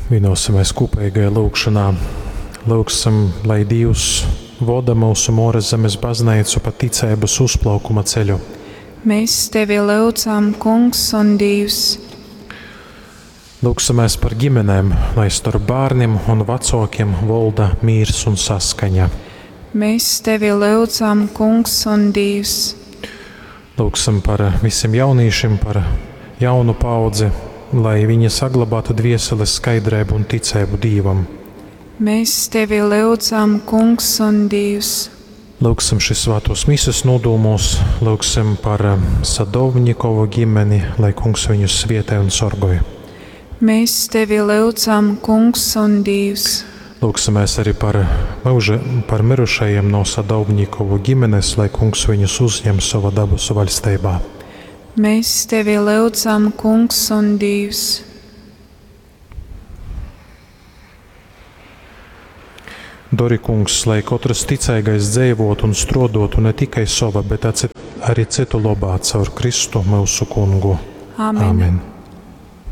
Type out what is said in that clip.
Vienosimies kopīgajā lūgšanā. Lūgsim, lai Dievs voda mūsu Mūras zemes baznīcu pa ticības uzplaukuma ceļu. Mēs tevi lūdzam, Kungs un Dievs. Lūksimies par ģimenēm, lai starp bērniem un vecākiem valda mīrs un saskaņa. Mēs tevi lūdzam, Kungs un Dievs. Lūksim par visiem jauniešiem, par jaunu paudzi, lai viņi saglabātu dvieseles skaidrību un ticību Dievam. Mēs tevi lūdzam, Kungs un Dievs. Lūksim šīs svētos mises nodomos, lūksim par Sadovņikovu ģimeni, lai kungs viņus svietē un sorgoj. Mēs tevi lūdzam, Kungs un Dievs. Lūksimies arī par, mūža, par mirušajiem no Sadovņikovu ģimenes, lai kungs viņus uzņem savā dabasu vaļstībā. Mēs tevi lūdzam, Kungs un Dievs. Dori, kungs, lai katrs ticīgais dzīvotu un strodotu ne tikai sava, bet arī citu labā caur Kristu mūsu kungu. Amen. Amen.